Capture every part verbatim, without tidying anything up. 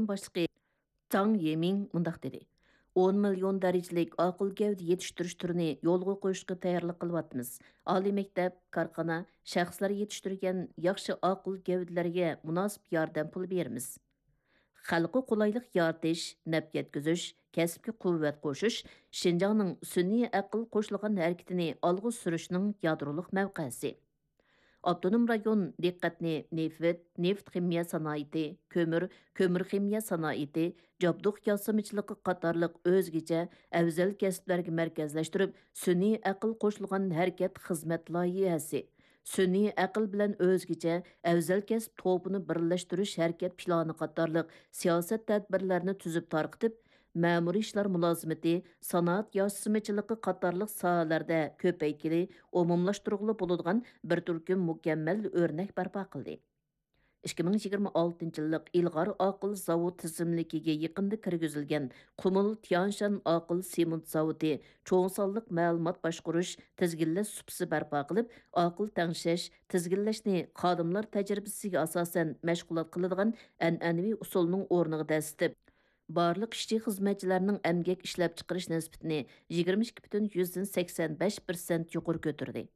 باشلىقى جاڭ يېمىڭ مۇنداق دېدى: «ئون مىليون دەرىجىلىك ئاقىل گەۋدە يېتىشتۈرۈش تۈرىنى يولغا قويۇشقا تەييارلىق قىلىۋاتىمىز. ئالىي مەكتەپ، كارخانا، شەخسلەر يېتىشتۈرگەن ياخشى ئاقىل گەۋدىلەرگە مۇناسىپ ياردەم پۇلى بېرىمىز.» خەلققە قولايلىق يارىتىش، نەپ يەتكۈزۈش، كەسىپكە قۇۋۋەت قوشۇش شىنجاڭنىڭ سۈنئىي ئەقىل قوشۇلغان ھەرىكىتىنى ئالغا سۈرۈشنىڭ يادرولۇق مەۋقەسى. ئاپتونوم رايون دىققەتنى نېفىت، نېفىت خىمىيە سانائىتى، كۆمۈر، كۆمۈر خىمىيە سانائىتى، جابدۇق ياسىمىچىلىقى قاتارلىق ئۆزگىچە ئەۋزەل كەسىپلەرگە مەركەزلەشتۈرۈپ، سۈنئىي ئەقىل قوشۇلغان ھەرىكەت خىزمەت لايىھەسى، سۈنئىي ئەقىل بىلەن ئۆزگىچە ئەۋزەل كەسىپ توپىنى بىرلەشتۈرۈش ھەرىكەت پىلانى قاتارلىق سىياسەت تەدبىرلەرنى تۈزۈپ تارقىتىپ، مەمۇرىي ئىشلار مۇلازىمىتى، سانائەت ياسىمىچىلىقى قاتارلىق ساھەلەردە كۆپەيتكىلى، ئومۇملاشتۇرغىلى بولىدىغان بىر تۈركۈم مۇكەممەل ئۆرنەك بەرپا قىلدى. ئىككى مىڭ يىگىرمە ئالتىنچى يىللىق ئىلغار ئاقىل زاۋۇت تىزىملىكىگە يېقىندا كىرگۈزۈلگەن قۇمۇل تيانشان ئاقىل سېمونت زاۋۇتى چوڭ سانلىق مەلۇمات باشقۇرۇش، تىزگىنلەش سۇپىسى بەرپا قىلىپ، ئاقىل تەڭشەش، تىزگىنلەشنى خادىملار تەجرىبىسىگە ئاساسەن مەشغۇلات قىلىدىغان ئەنئەنىۋى ئۇسۇلنىڭ ئورنىغا دەسسىتىپ، بارلىق ئىشچى-خىزمەتچىلەرنىڭ ئەمگەك ئىشلەپچىقىرىش نىسبىتىنى يىگىرمە ئىككى پۈتۈن يۈزدىن سەكسەن بەش پىرسەنت يۇقىرى كۆتۈردى.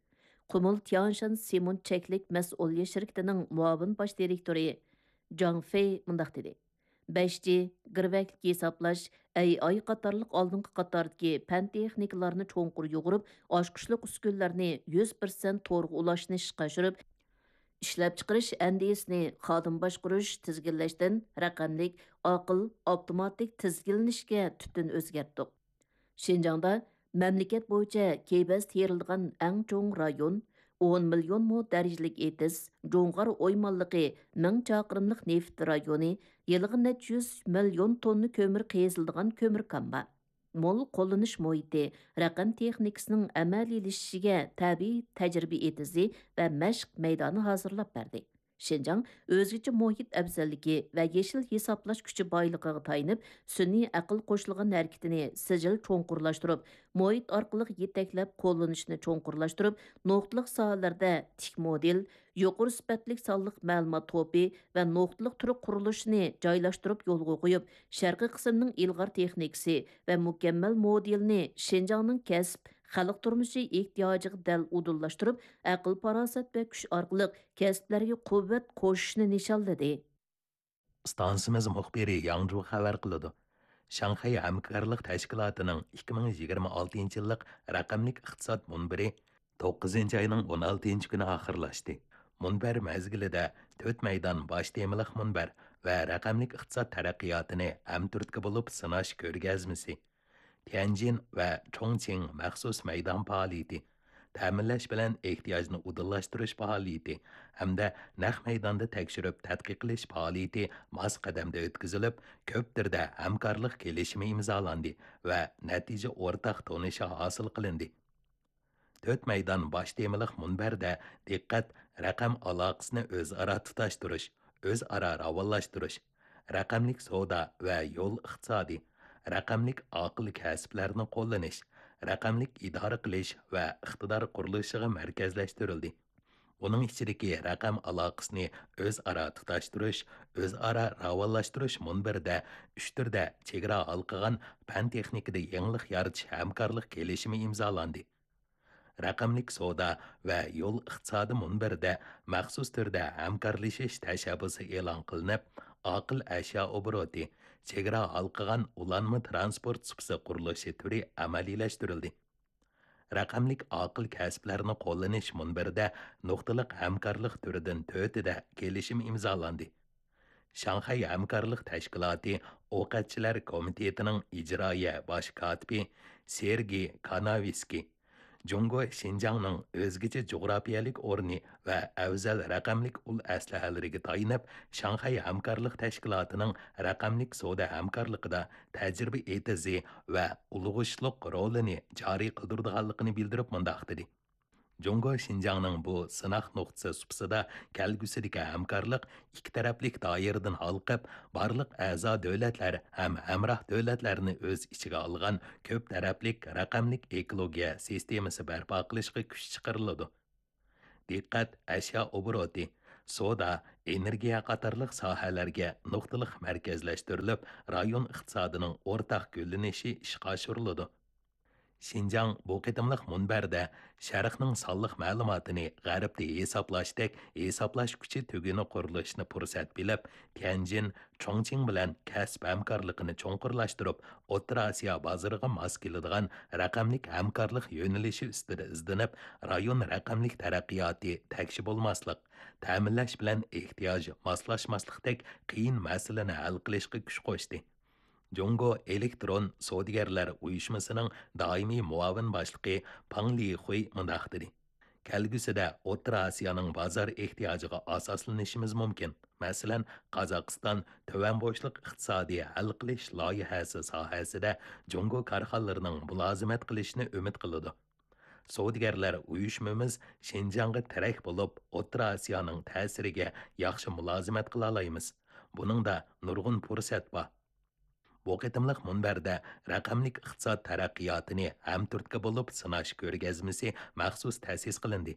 قۇمۇل تيانشان سېمونت چەكلىك مەسئۇلىيەت شىركىتىنىڭ مۇئاۋىن باش دىرېكتورى جاڭ فېي مۇنداق دېدى: «بەش جى، گىرۋەكلىك ھېسابلاش، ئەي ئاي قاتارلىق ئالدىنقى قاتاردىكى پەن تېخنىكىلارنى چوڭقۇر يۇغۇرۇپ، ئاچقۇچلۇق ئۈسكۈنىلەرنى يۈز پىرسەنت تورغا ئۇلاشنى ئىشقا ئاشۇرۇپ، ئىشلەپچىقىرىش ئەندىزىسىنى خادىم باشقۇرۇش، تىزگىنلەشتىن رەقەملىك، ئاقىل، ئاپتوماتىك تىزگىنلىنىشكە تۈپتىن ئۆزگەرتتۇق.» شىنجاڭدا مەملىكەت بويىچە كېبەز تېرىلىدىغان ئەڭ چوڭ رايون، ئون مىليون مو دەرىجىلىك ئېتىز، جۇڭغار ئويمانلىقى مىڭ چاقىرىملىق نېفىت رايونى، يىلىغا نەچچە يۈز مىليون توننا كۆمۈر قېزىلىدىغان كۆمۈر كان بار. مول قوللىنىش مۇھىتى، رەقەم تېخنىكىسىنىڭ ئەمەلىيلىشىشىگە تەبىئىي تەجرىبە ئېتىزى ۋە مەشىق مەيدانى ھازىرلاپ بەردى. شىنجاڭ ئۆزگىچە مۇھىت ئەۋزەللىكى ۋە يېشىل ھېسابلاش كۈچى بايلىقىغا تايىنىپ، سۈنئىي ئەقىل قوشۇلغان ھەرىكىتىنى سىجىل چوڭقۇرلاشتۇرۇپ، مۇھىت ئارقىلىق يېتەكلەپ قوللىنىشنى چوڭقۇرلاشتۇرۇپ، نۇقتىلىق ساھەلەردە تىك مودېل، يۇقىرى سۈپەتلىك سانلىق مەلۇمات توپى ۋە نۇقتىلىق تۈر قۇرۇلۇشىنى جايلاشتۇرۇپ يولغا قويۇپ، شەرقىي قىسىمنىڭ ئىلغار تېخنىكىسى ۋە مۇكەممەل مودېلىنى شىنجاڭنىڭ كەسىپ، خەلق تۇرمۇشى ئېھتىياجىغا دەل ئۇدۇللاشتۇرۇپ، ئەقىل-پاراسەت ۋە كۈچ ئارقىلىق كەسىپلەرگە قۇۋۋەت قوشۇشنى نىشانلىدى. ئىستانسىمىز مۇخبىرى ياڭجۇ خەۋەر قىلىدۇ. شاڭخەي ھەمكارلىق تەشكىلاتىنىڭ ئىككى مىڭ يىگىرمە ئالتىنچى يىللىق رەقەملىك ئىقتىساد مۇنبىرى توققۇزىنچى ئاينىڭ ئون ئالتىنچى كۈنى ئاخىرلاشتى. مۇنبەر مەزگىلىدە تۆت مەيدان باش تېمىلىق مۇنبەر ۋە رەقەملىك ئىقتىساد تەرەققىياتىنى ھەمتۈرتكە بولۇپ سىناش كۆرگەزمىسى، تيەنجىن ۋە چۇڭچىڭ مەخسۇس مەيدان پائالىيىتى، تەمىنلەش بىلەن ئېھتىياجنى ئۇدۇللاشتۇرۇش پائالىيىتى ھەمدە نەق مەيداندا تەكشۈرۈپ تەتقىق قىلىش پائالىيىتى ماس قەدەمدە ئۆتكۈزۈلۈپ، كۆپ تۈردە ھەمكارلىق كېلىشىمى ئىمزالاندى ۋە نەتىجە ئورتاق تونۇشى ھاسىل قىلىندى. تۆت مەيدان باش تېمىلىق مۇنبەردە دىققەت رەقەم ئالاقىسىنى ئۆزئارا تۇتاشتۇرۇش، ئۆزئارا راۋانلاشتۇرۇش، رەقەملىك سودا ۋە يول ئىقتىسادى، رەقەملىك ئاقىل كەسىپلەرنى قوللىنىش، رەقەملىك ئىدارە قىلىش ۋە ئىقتىدار قۇرۇلۇشىغا مەركەزلەشتۈرۈلدى. ئۇنىڭ ئىچىدىكى رەقەم ئالاقىسىنى ئۆزئارا تۇتاشتۇرۇش، ئۆزئارا راۋانلاشتۇرۇش مۇنبىرىدە ئۈچ تۈردە چېگرا ھالقىغان پەن تېخنىكىدا يېڭىلىق يارىتىش ھەمكارلىق كېلىشىمى ئىمزالاندى. رەقەملىك سودا ۋە يول ئىقتىسادى مۇنبىرىدە مەخسۇس تۈردە ھەمكارلىشىش تەشەببۇسى ئېلان قىلىنىپ، ئاقىل ئەشيا ئوبوروتى، چېگرا ھالقىغان ئۇلانما تىرانسپورت سۇپىسى قۇرۇلۇشى تۈرى ئەمەلىيلەشتۈرۈلدى. رەقەملىك ئاقىل كەسىپلەرنى قوللىنىش مۇنبىرىدە نۇقتىلىق ھەمكارلىق تۈرىدىن تۆتىدە كېلىشىم ئىمزالاندى. شاڭخەي ھەمكارلىق تەشكىلاتى ئوقەتچىلەر كومىتېتىنىڭ ئىجرائىيە باش كاتىپى سېرگېي كاناۋىسكىي، جۇڭگو شىنجاڭنىڭ ئۆزگىچە جۇغراپىيەلىك ئورنى ۋە ئەۋزەل رەقەملىك ئۇل ئەسلىھەلىرىگە تايىنىپ، شاڭخەي ھەمكارلىق تەشكىلاتىنىڭ رەقەملىك سودا ھەمكارلىقىدا تەجرىبە ئېتىزى ۋە ئۇلىغىشلىق رولىنى جارى قىلدۇرىدىغانلىقىنى بىلدۈرۈپ مۇنداق دېدى: جۇڭگو شىنجاڭنىڭ بۇ سىناق نۇقتىسى سۇپىسىدا كەلگۈسىدىكى ھەمكارلىق ئىككى تەرەپلىك دائىرىدىن ھالقىپ، بارلىق ئەزا دۆلەتلەر ھەم ھەمراھ دۆلەتلەرنى ئۆز ئىچىگە ئالغان كۆپ تەرەپلىك رەقەملىك ئېكولوگىيە سىستېمىسى بەرپا قىلىشقا كۈچ چىقىرىلىدۇ. دىققەت ئەشيا ئوبوروتى، سودا، ئېنېرگىيە قاتارلىق ساھەلەرگە نۇقتىلىق مەركەزلەشتۈرۈلۈپ، رايون ئىقتىسادىنىڭ ئورتاق گۈللىنىشى ئىشقا ئاشۇرۇلىدۇ. شىنجاڭ بۇ قېتىملىق مۇنبەردە شەرقنىڭ سانلىق مەلۇماتىنى غەربتە ھېسابلاشتەك ھېسابلاش كۈچى تۈگۈنى قۇرۇلۇشىنى پۇرسەت بىلىپ، تيەنجىن، چۇڭچىڭ بىلەن كەسىپ ھەمكارلىقىنى چوڭقۇرلاشتۇرۇپ، ئوتتۇرا ئاسىيا بازىرىغا ماس كېلىدىغان رەقەملىك ھەمكارلىق يۆنىلىشى ئۈستىدە ئىزدىنىپ، رايون رەقەملىك تەرەققىياتى تەكشى بولماسلىق، تەمىنلەش بىلەن ئېھتىياج ماسلاشماسلىقتەك قىيىن مەسىلىنى ھەل قىلىشقا كۈچ قوشتى. جۇڭگو ئېلېكترون سودىگەرلەر ئۇيۇشمىسىنىڭ دائىمىي مۇئاۋىن باشلىقى پاڭ لىخۇي مۇنداق دېدى: كەلگۈسىدە ئوتتۇرا ئاسىيانىڭ بازار ئېھتىياجىغا ئاساسلىنىشىمىز مۇمكىن. مەسىلەن، قازاقىستان تۆۋەن بوشلۇق ئىقتىسادىي ھەل قىلىش لايىھەسى ساھەسىدە جۇڭگو كارخانىلىرىنىڭ مۇلازىمەت قىلىشىنى ئۈمىد قىلىدۇ. سودىگەرلەر ئۇيۇشمىمىز شىنجاڭغا تىرەك بولۇپ، ئوتتۇرا ئاسىيانىڭ تەسىرىگە ياخشى مۇلازىمەت قىلالايمىز. بۇنىڭدا نۇرغۇن پۇرسەت بار. بۇ قېتىملىق مۇنبەردە رەقەملىك ئىقتىساد تەرەققىياتىنى ھەمتۈرتكە بولۇپ سىناش كۆرگەزمىسى مەخسۇس تەسىس قىلىندى.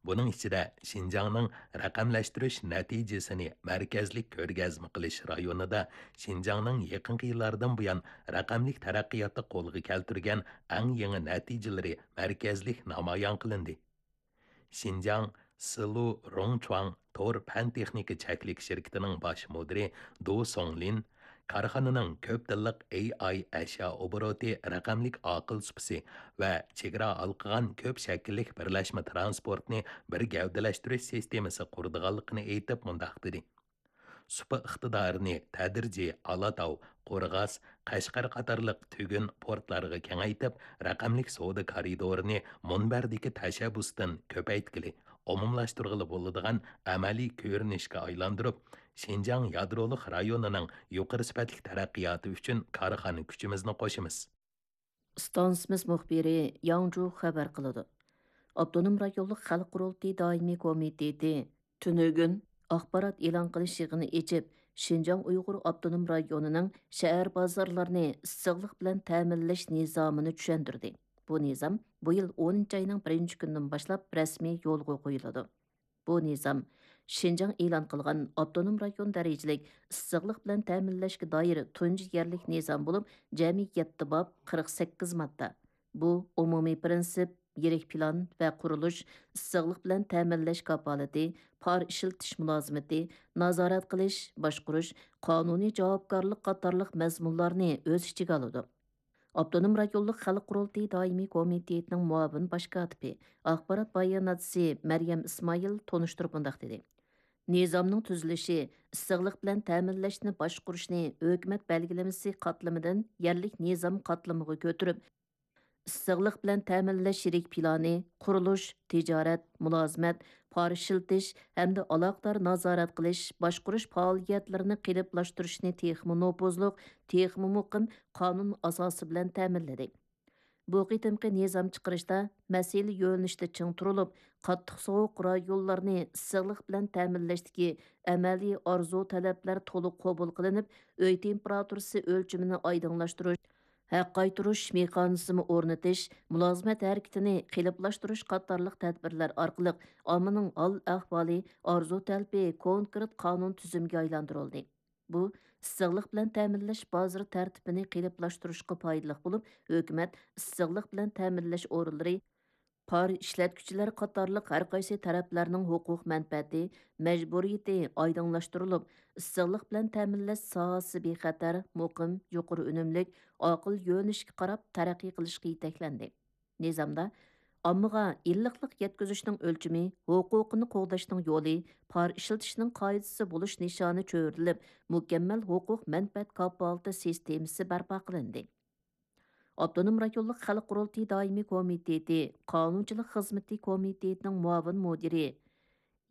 بۇنىڭ ئىچىدە شىنجاڭنىڭ رەقەملەشتۈرۈش نەتىجىسىنى مەركەزلىك كۆرگەزمە قىلىش رايونىدا شىنجاڭنىڭ يېقىنقى يىللاردىن بۇيان رەقەملىك تەرەققىياتتا قولغا كەلتۈرگەن ئەڭ يېڭى نەتىجىلىرى مەركەزلىك نامايان قىلىندى. شىنجاڭ سىلۇ روڭچۇاڭ تور پەن تېخنىكا چەكلىك شىركىتىنىڭ باش مۇدىرى دۇ سوڭلىن كارخانىنىڭ كۆپ تىللىق ئېي ئاي ئەشيا ئوبوروتى رەقەملىك ئاقىل سۇپىسى ۋە چېگرا ھالقىغان كۆپ شەكىللىك بىرلەشمە تىرانسپورتنى بىر گەۋدىلەشتۈرۈش سىستېمىسى قۇرىدىغانلىقىنى ئېيتىپ مۇنداق دېدى: سۇپا ئىقتىدارىنى تەدرىجىي ئالاتاۋ، قورغاس، قەشقەر قاتارلىق تۈگۈن پورتلارغا كېڭەيتىپ، رەقەملىك سودا كارىدورىنى مۇنبەردىكى تەشەببۇستىن كۆپەيتكىلى، ئومۇملاشتۇرغىلى بولىدىغان ئەمەلىي كۆرۈنۈشكە ئايلاندۇرۇپ، شىنجاڭ يادرولۇق رايونىنىڭ يۇقىرى سۈپەتلىك تەرەققىياتى ئۈچۈن كارخانا كۈچىمىزنى قوشىمىز. ئىستانسىمىز مۇخبىرى ياڭ جۇ خەۋەر قىلىدۇ. ئاپتونوم رايونلۇق خەلق قۇرۇلتىيى دائىمىي كومىتېتى تۈنۈگۈن ئاخبارات ئېلان قىلىش يىغىنى ئېچىپ، شىنجاڭ ئۇيغۇر ئاپتونوم رايونىنىڭ شەھەر بازارلىرىنى ئىسسىقلىق بىلەن تەمىنلەش نىزامىنى چۈشەندۈردى. بۇ نىزام بۇ يىل ئونىنچى ئاينىڭ بىرىنچى كۈنىدىن باشلاپ رەسمىي يولغا قويۇلىدۇ. بۇ نىزام شىنجاڭ ئېلان قىلغان ئاپتونوم رايون دەرىجىلىك ئىسسىقلىق بىلەن تەمىنلەشكە دائىر تۇنجى يەرلىك نىزام بولۇپ، جەمئىي يەتتە باب، قىرىق سەككىز ماددا. بۇ ئومۇمىي پىرىنسىپ، يىرىك پىلان ۋە قۇرۇلۇش، ئىسسىقلىق بىلەن تەمىنلەش كاپالىتى، پار ئىشلىتىش مۇلازىمىتى، نازارەت قىلىش، باشقۇرۇش، قانۇنىي جاۋابكارلىق قاتارلىق مەزمۇنلارنى ئۆز ئىچىگە ئالىدۇ. ئاپتونوم رايونلۇق خەلق قۇرۇلتىيى دائىمىي كومىتېتىنىڭ مۇئاۋىن باش كاتىپى، ئاخبارات باياناتچىسى مەريەم ئىسمائىل تونۇشتۇرۇپ مۇنداق دېدى: نىزامنىڭ تۈزۈلۈشى ئىسسىقلىق بىلەن تەمىنلەشنى باشقۇرۇشنى ھۆكۈمەت بەلگىلىمىسى قاتلىمىدىن يەرلىك نىزام قاتلىمىغا كۆتۈرۈپ، ئىسسىقلىق بىلەن تەمىنلەش يىرىك پىلانى، قۇرۇلۇش، تىجارەت، مۇلازىمەت، پار ئىشلىتىش ھەمدە ئالاقىدار نازارەت قىلىش، باشقۇرۇش پائالىيەتلىرىنى قېلىپلاشتۇرۇشنى تېخىمۇ نوپۇزلۇق، تېخىمۇ مۇقىم قانۇن ئاساسى بىلەن تەمىنلىدى. بۇ قېتىمقى نىزام چىقىرىشتا مەسىلە يۆنىلىشىدە چىڭ تۇرۇلۇپ، قاتتىق سوغۇق رايونلارنى ئىسسىقلىق بىلەن تەمىنلەشتىكى ئەمەلىي ئارزۇ تەلەپلەر تولۇق قوبۇل قىلىنىپ، ئۆي تېمپېراتۇرىسى ئۆلچىمىنى ئايدىڭلاشتۇرۇش، ھەق قايتۇرۇش مېخانىزمى ئورنىتىش، مۇلازىمەت ھەرىكىتىنى قېلىپلاشتۇرۇش قاتارلىق تەدبىرلەر ئارقىلىق ئاممىنىڭ ھال-ئەھۋالى، ئارزۇ تەلىپى كونكرېت قانۇن تۈزۈمگە ئايلاندۇرۇلدى. بۇ ئىسسىقلىق بىلەن تەمىنلەش بازىرى تەرتىپىنى قېلىپلاشتۇرۇشقا پايدىلىق بولۇپ، ھۆكۈمەت ئىسسىقلىق بىلەن تەمىنلەش ئورۇنلىرى، پار ئىشلەتكۈچىلەر قاتارلىق ھەر قايسى تەرەپلەرنىڭ ھوقۇق مەنپەئەتى، مەجبۇرىيىتى ئايدىڭلاشتۇرۇلۇپ، ئىسسىقلىق بىلەن تەمىنلەش ساھەسى بىخەتەر، مۇقىم، يۇقىرى ئۈنۈملۈك، ئاقىل يۆنىلىشكە قاراپ تەرەققىي قىلىشقا يېتەكلەندى. نىزامدا ئاممىغا ئىللىقلىق يەتكۈزۈشنىڭ ئۆلچىمى، ھوقۇقىنى قوغداشنىڭ يولى، پار ئىشلىتىشنىڭ قائىدىسى بولۇش نىشانى چۆرىدىلىپ، مۇكەممەل ھوقۇق مەنپەئەت كاپالىتى سىستېمىسى بەرپا قىلىندى. ئاپتونوم رايونلۇق خەلق قۇرۇلتىيى دائىمىي كومىتېتى قانۇنچىلىق خىزمىتى كومىتېتىنىڭ مۇئاۋىن مۇدىرى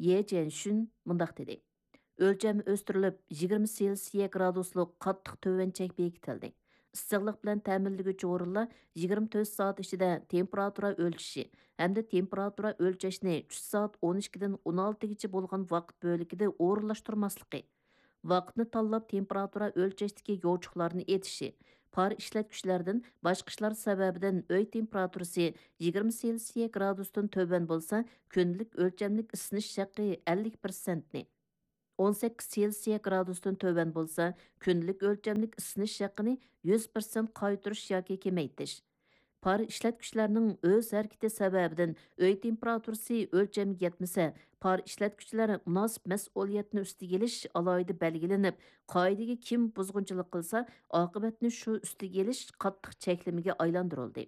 يې جيەنشۈن مۇنداق دېدى: ئۆلچەم ئۆستۈرۈلۈپ، يىگىرمە سېلسىيە گرادۇسلۇق قاتتىق تۆۋەن چەك بېكىتىلدى. ئىسسىقلىق بىلەن تەمىنلىگۈچى ئورۇنلار يىگىرمە تۆت سائەت ئىچىدە تېمپېراتۇرا ئۆلچىشى ھەمدە تېمپېراتۇرا ئۆلچەشنى چۈش سائەت ئون ئىككىدىن ئون ئالتىگىچە بولغان ۋاقىت بۆلىكىدە ئورۇنلاشتۇرماسلىقى، ۋاقىتنى تاللاپ تېمپېراتۇرا ئۆلچەشتىكى يوچۇقلارنى ئېتىشى، پار ئىشلەتكۈچىلەردىن باشقا ئىشلار سەۋەبىدىن ئۆي تېمپېراتۇرىسى يىگىرمە سېلسىيە گرادۇستىن تۆۋەن بولسا، كۈندىلىك ئۆلچەملىك ئىسسىنىش ھەققى ئەللىك پىرسەنتنى، ئون سەككىز سېلسىيە گرادۇستىن تۆۋەن بولسا، كۈندىلىك ئۆلچەملىك ئىسسىنىش ھەققىنى يۈز پىرسەنت قايتۇرۇش ياكى كېمەيتىش. پار ئىشلەتكۈچىلەرنىڭ ئۆز ھەرىكىتى سەۋەبىدىن ئۆي تېمپېراتۇرىسى ئۆلچەمگە يەتمىسە، پار ئىشلەتكۈچىلەر مۇناسىپ مەسئۇلىيەتنى ئۈستىگە ئېلىش ئالاھىدە بەلگىلىنىپ، قائىدىگە كىم بۇزغۇنچىلىق قىلسا، ئاقىۋەتنى شۇ ئۈستىگە ئېلىش قاتتىق چەكلىمىگە ئايلاندۇرۇلدى.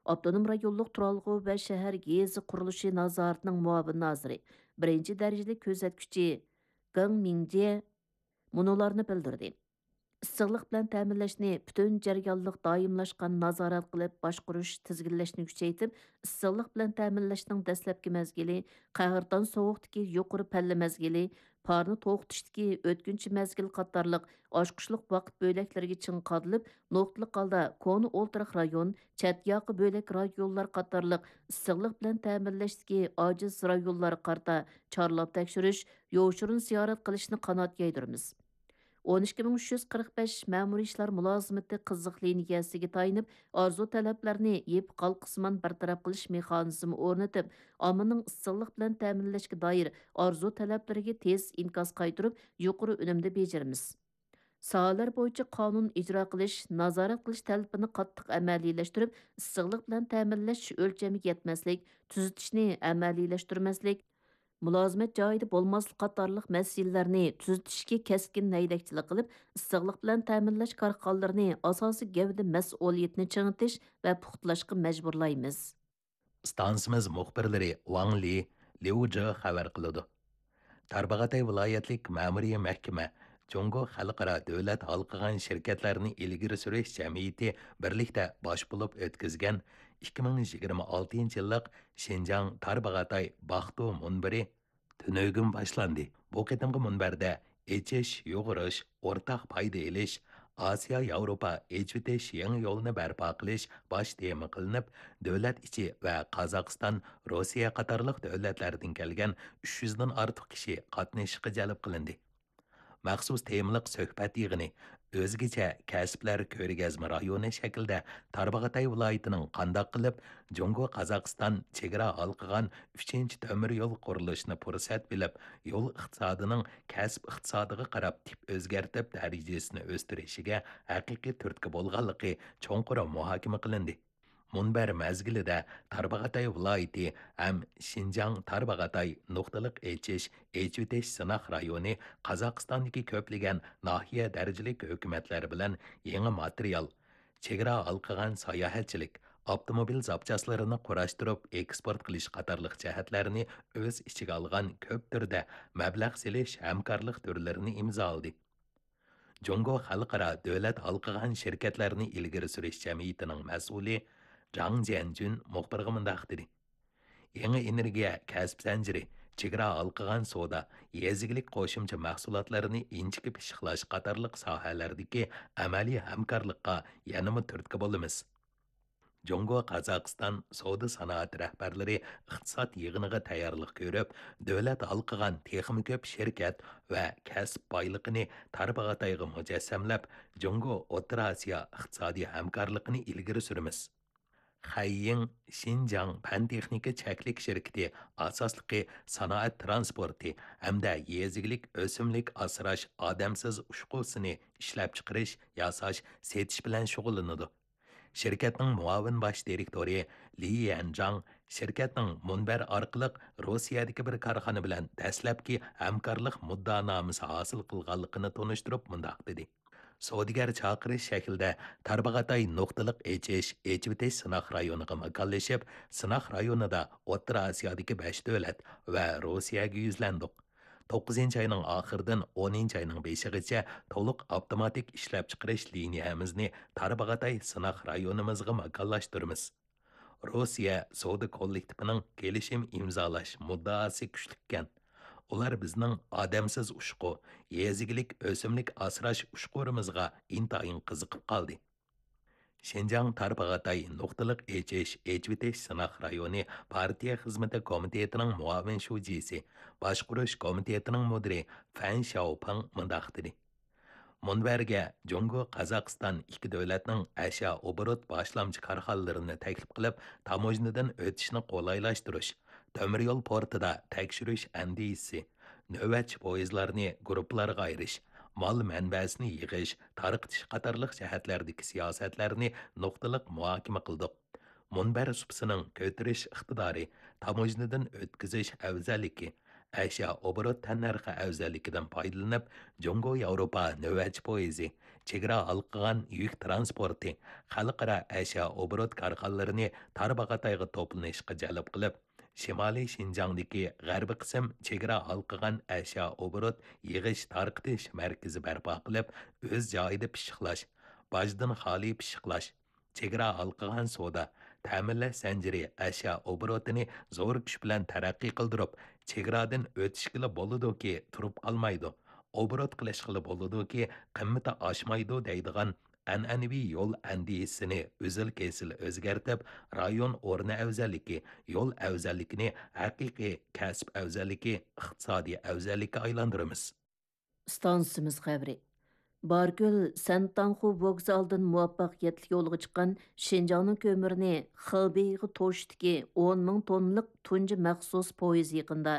ئاپتونوم رايونلۇق تۇرالغۇ ۋە شەھەر يېزا قۇرۇلۇشى نازارىتىنىڭ مۇئاۋىن نازىرى، بىرىنچى دەرىجىلىك كۆزەتكۈچى گېڭ مىڭجيې مۇنۇلارنى بىلدۈردى: ئىسسىقلىق بىلەن تەمىنلەشنى پۈتۈن جەريانلىق دائىملاشقان نازارەت قىلىپ باشقۇرۇش، تىزگىنلەشنى كۈچەيتىپ، ئىسسىقلىق بىلەن تەمىنلەشنىڭ دەسلەپكى مەزگىلى، قەھرىتان سوغۇقتىكى يۇقىرى پەللە مەزگىلى، پارنى توختىتىشتىكى ئۆتكۈنچى مەزگىل قاتارلىق ئاچقۇچلۇق ۋاقىت بۆلەكلىرىگە چىڭ قادىلىپ، نۇقتىلىق ھالدا كونا ئولتۇراق رايون، چەت ياقا بۆلەك رايونلار قاتارلىق ئىسسىقلىق بىلەن تەمىنلەشتىكى ئاجىز رايونلارغا قارىتا چارلاپ تەكشۈرۈش، يوشۇرۇن زىيارەت قىلىشنى قانات يايدۇرىمىز. ئون ئىككى مىڭ ئۈچ يۈز قىرىق بەش مەمۇرىي ئىشلار مۇلازىمىتى قىزىق لىنىيەسىگە تايىنىپ، ئارزۇ تەلەپلەرنى يېپىق ھالقىسىمان بىر تەرەپ قىلىش مېخانىزمى ئورنىتىپ، ئاممىنىڭ ئىسسىقلىق بىلەن تەمىنلەشكە دائىر ئارزۇ تەلەپلىرىگە تېز ئىنكاس قايتۇرۇپ، يۇقىرى ئۈنۈمدە بېجىرىمىز. ساھەلەر بويىچە قانۇن ئىجرا قىلىش، نازارەت قىلىش تەلىپىنى قاتتىق ئەمەلىيلەشتۈرۈپ، ئىسسىقلىق بىلەن تەمىنلەش ئۆلچەمگە يەتمەسلىك، تۈزىتىشنى ئەمەلىيلەشتۈرمەسلىك، مۇلازىمەت جايىدا بولماسلىق قاتارلىق مەسىلىلەرنى تۈزىتىشكە كەسكىن ھەيدەكچىلىك قىلىپ، ئىسسىقلىق بىلەن تەمىنلەش كارخانىلىرىنى ئاساسىي گەۋدە مەسئۇلىيىتىنى چىڭىتىش ۋە پۇختىلاشقا مەجبۇرلايمىز. ئىستانسىمىز مۇخبىرلىرى ۋاڭ لى، ليۇ جې خەۋەر قىلىدۇ. تارباغاتاي ۋىلايەتلىك مەمۇرىي مەھكىمە جۇڭگو خەلقئارا دۆلەت ھالقىغان شىركەتلەرنى ئىلگىرى سۈرۈش جەمئىيىتى بىرلىكتە باش بولۇپ ئۆتكۈزگەن ئىككى مىڭ يىگىرمە ئالتىنچى يىللىق شىنجاڭ تارباغاتاي باقتۇ مۇنبىرى تۈنۈگۈن باشلاندى. بۇ قېتىمقى مۇنبەردە ئېچىش، يۇغۇرۇش، ئورتاق پايدا ئېلىش، ئاسىيا ياۋروپا ئېچىۋېتىش يېڭى يولىنى بەرپا قىلىش باش تېما قىلىنىپ، دۆلەت ئىچى ۋە قازاقىستان، روسىيە قاتارلىق دۆلەتلەردىن كەلگەن ئۈچ يۈزدىن ئارتۇق كىشى قاتنىشىشقا جەلپ قىلىندى. مەخسۇس تېمىلىق سۆھبەت يىغىنى ئۆزگىچە كەسىپلەر كۆرگەزمە رايونى شەكلىدە تارباغاتاي ۋىلايىتىنىڭ قانداق قىلىپ جۇڭگو قازاقىستان چېگرا ھالقىغان ئۈچىنچى تۆمۈر يول قۇرۇلۇشىنى پۇرسەت بىلىپ، يول ئىقتىسادىنىڭ كەسىپ ئىقتىسادىغا قاراپ تىپ ئۆزگەرتىپ دەرىجىسىنى ئۆستۈرۈشىگە ھەقىقىي تۈرتكە بولغانلىقى چوڭقۇر مۇھاكىمە قىلىندى. مۇنبەر مەزگىلىدە تارباغاتاي ۋىلايىتى ھەم شىنجاڭ تارباغاتاي نۇقتىلىق ئېچىش، ئېچىۋېتىش سىناق رايونى قازاقىستاندىكى كۆپلىگەن ناھىيە دەرىجىلىك ھۆكۈمەتلەر بىلەن يېڭى ماتېرىيال، چېگرا ھالقىغان ساياھەتچىلىك، ئاپتوموبىل زاپچاسلىرىنى قۇراشتۇرۇپ ئېكسپورت قىلىش قاتارلىق جەھەتلەرنى ئۆز ئىچىگە ئالغان كۆپ تۈردە مەبلەغ سېلىش ھەمكارلىق تۈرلىرىنى ئىمزالىدى. جۇڭگو خەلقئارا دۆلەت ھالقىغان شىركەتلەرنى ئىلگىرى سۈرۈش جەمئىيىتىنىڭ مەسئۇلى جاڭ جيەنجۈن مۇخبىرغا مۇنداق دېدى: يېڭى ئېنېرگىيە كەسىپ زەنجىرى، چېگرا ھالقىغان سودا، يېزا ئىگىلىك قوشۇمچە مەھسۇلاتلىرىنى ئىنچىكە پىششىقلاش قاتارلىق ساھەلەردىكى ئەمەلىي ھەمكارلىققا يەنىمۇ تۈرتكە بولىمىز. جۇڭگو قازاقىستان سودا سانائەت رەھبەرلىرى ئىقتىساد يىغىنىغا تەييارلىق كۆرۈپ، دۆلەت ھالقىغان تېخىمۇ كۆپ شىركەت ۋە كەسىپ بايلىقىنى تارباغاتايغا مۇجەسسەملەپ، جۇڭگو ئوتتۇرا ئاسىيا ئىقتىسادىي ھەمكارلىقىنى ئىلگىرى سۈرىمىز. خەييىڭ شىنجاڭ پەن تېخنىكا چەكلىك شىركىتى ئاساسلىقى سانائەت ترانسپورتى ھەمدە يېزا ئىگىلىك ئۆسۈملۈك ئاسراش ئادەمسىز ئۇچقۇسىنى ئىشلەپچىقىرىش، ياساش، سېتىش بىلەن شۇغۇللىنىدۇ. شىركەتنىڭ مۇئاۋىن باش دىرېكتورى لى يەنجاڭ شىركەتنىڭ مۇنبەر ئارقىلىق روسىيەدىكى بىر كارخانا بىلەن دەسلەپكى ھەمكارلىق مۇددىئانامىسى ھاسىل قىلغانلىقىنى تونۇشتۇرۇپ مۇنداق دېدى: سودىگەر چاقىرىش شەكلىدە تارباغاتاي نۇقتىلىق ئېچىش، ئېچىۋېتىش سىناق رايونىغا ماكانلىشىپ، سىناق رايونىدا ئوتتۇرا ئاسىيادىكى بەش دۆلەت ۋە روسىيەگە يۈزلەندۇق. توققۇزىنچى ئاينىڭ ئاخىرىدىن ئونىنچى ئاينىڭ بېشىغىچە تولۇق ئاپتوماتىك ئىشلەپچىقىرىش لىنىيەمىزنى تارباغاتاي سىناق رايونىمىزغا ماكانلاشتۇرىمىز. روسىيە سودا كوللېكتىپىنىڭ كېلىشىم ئىمزالاش مۇددىئاسى كۈچلۈككەن. ئۇلار بىزنىڭ ئادەمسىز ئۇچقۇ، يېزا ئىگىلىك ئۆسۈملۈك ئاسراش ئۇچقۇرىمىزغا ئىنتايىن قىزىقىپ قالدى. شىنجاڭ تارباغاتاي نۇقتىلىق ئېچىش، ئېچىۋېتىش سىناق رايونى پارتىيە خىزمىتى كومىتېتىنىڭ مۇئاۋىن شۇجىسى، باشقۇرۇش كومىتېتىنىڭ مۇدىرى فەن شياۋپىڭ مۇنداق دېدى: مۇنبەرگە جۇڭگو، قازاقىستان ئىككى دۆلەتنىڭ ئەشيا ئوبوروت باشلامچى كارخانىلىرىنى تەكلىپ قىلىپ، تاموژنىدىن ئۆتۈشنى قولايلاشتۇرۇش، تۆمۈر يول پورتىدا تەكشۈرۈش ئەندىزىسى، نۆۋەتچى پويىزلارنى گۇرۇپپىلارغا ئايرىش، مال مەنبەسىنى يىغىش، تارقىتىش قاتارلىق جەھەتلەردىكى سىياسەتلەرنى نۇقتىلىق مۇھاكىمە قىلدۇق. مۇنبەر سۇپىسىنىڭ كۆتۈرۈش ئىقتىدارى، تاموژنىدىن ئۆتكۈزۈش ئەۋزەللىكى، ئەشيا ئوبوروت تەننەرخى ئەۋزەللىكىدىن پايدىلىنىپ، جۇڭگو ياۋروپا نۆۋەتچى پويىزى، چېگرا ھالقىغان يۈك تىرانسپورتى، خەلقئارا ئەشيا ئوبوروت كارخانىلىرىنى تارباغاتايغا توپلىنىشقا جەلپ قىلىپ، شىمالىي شىنجاڭدىكى غەربىي قىسىم چېگرا ھالقىغان ئەشيا ئوبوروت يىغىش تارقىتىش مەركىزى بەرپا قىلىپ، ئۆز جايىدا پىششىقلاش، باجدىن خالىي پىششىقلاش، چېگرا ھالقىغان سودا، تەمىنلەش زەنجىرى ئەشيا ئوبوروتىنى زور كۈچ بىلەن تەرەققىي قىلدۇرۇپ، چېگرادىن ئۆتۈشكىلا بولىدۇكى، تۇرۇپ قالمايدۇ، ئوبوروت قىلىشقىلا بولىدۇكى، قىممىتى ئاشمايدۇ دەيدىغان ئەنئەنىۋى يول ئەندىزىسىنى ئۈزۈل-كېسىل ئۆزگەرتىپ، رايون ئورنى ئەۋزەللىكى، يول ئەۋزەللىكىنى ھەقىقىي كەسىپ ئەۋزەللىكى، ئىقتىسادىي ئەۋزەللىككە ئايلاندۇرىمىز. ئىستانسىمىز خەۋىرى. باركۆل سەنتاڭخۇ ۋوگزالىدىن مۇۋەپپەقىيەتلىك يولغا چىققان شىنجاڭنىڭ كۆمۈرىنى خېبېيغا توشۇشتىكى ئون مىڭ توننىلىق تۇنجى مەخسۇس پويىز يېقىندا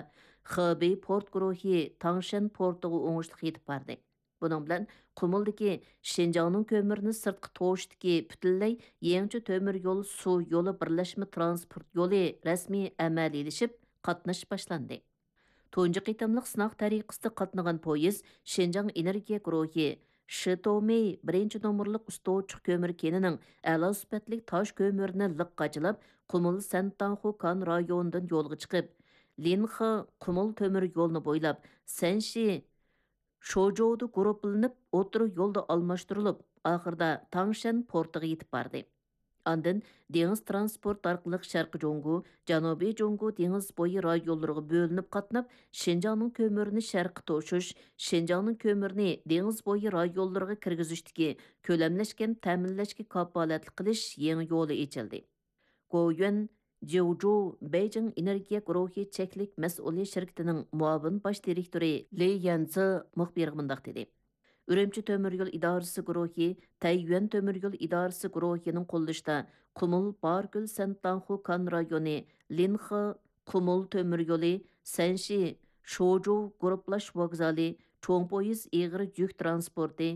خېبېي پورت گۇرۇھى تاڭشەن پورتىغا ئوڭۇشلۇق يېتىپ باردى. بۇنىڭ بىلەن قۇمۇلدىكى شىنجاڭنىڭ كۆمۈرىنى سىرتقا توشۇشتىكى پۈتۈنلەي يېڭىچە تۆمۈر يول سۇ يولى بىرلەشمە تىرانسپورت يولى رەسمىي ئەمەلىيلىشىپ، قاتنىشىش باشلاندى. تۇنجى قېتىملىق سىناق تەرىقىسىدە قاتنىغان پويىز شىنجاڭ ئېنېرگىيە گۇرۇھى شىتومېي بىرىنچى نومۇرلۇق ئۇستى ئوچۇق كۆمۈر كېنىنىڭ ئەلا سۈپەتلىك تاش كۆمۈرىنى لىق قاچىلاپ، قۇمۇل سەنتاڭخۇ كان رايونىدىن يولغا چىقىپ، لىنخې قۇمۇل تۆمۈر يولىنى بويلاپ، سەنشى شوجودا گۇرۇپپىلىنىپ، ئوتتۇرا يولدا ئالماشتۇرۇلۇپ، ئاخىرىدا تاڭشەن پورتىغا يېتىپ باردى. ئاندىن دېڭىز تىرانسپورت ئارقىلىق شەرقىي جۇڭگو، جەنۇبىي جۇڭگو دېڭىز بويى رايونلىرىغا بۆلۈنۈپ قاتناپ، شىنجاڭنىڭ كۆمۈرىنى شەرققە توشۇش، شىنجاڭنىڭ كۆمۈرىنى دېڭىز بويى رايونلىرىغا كىرگۈزۈشتىكى كۆلەملەشكەن تەمىنلەشكە كاپالەتلىك قىلىش يېڭى يولى ئېچىلدى. گويۈەن جيۇجۇ بېيجىڭ ئېنېرگىيە گۇرۇھى چەكلىك مەسئۇلىيەت شىركىتىنىڭ مۇئاۋىن باش دىرېكتورى لى يەنزې مۇخبىرغا مۇنداق دېدى: ئۈرۈمچى تۆمۈر يول ئىدارىسى گۇرۇھى، تەييۈەن تۆمۈر يول ئىدارىسى گۇرۇھىنىڭ قوللىشىدا قۇمۇل باركۆل سەنتاڭخۇ كان رايونى، لىنخې قۇمۇل تۆمۈر يولى، سەنشى شوجۇ گۇرۇپپىلاش ۋوگزالى، چوڭ پويىز ئېغىر يۈك تىرانسپورتى،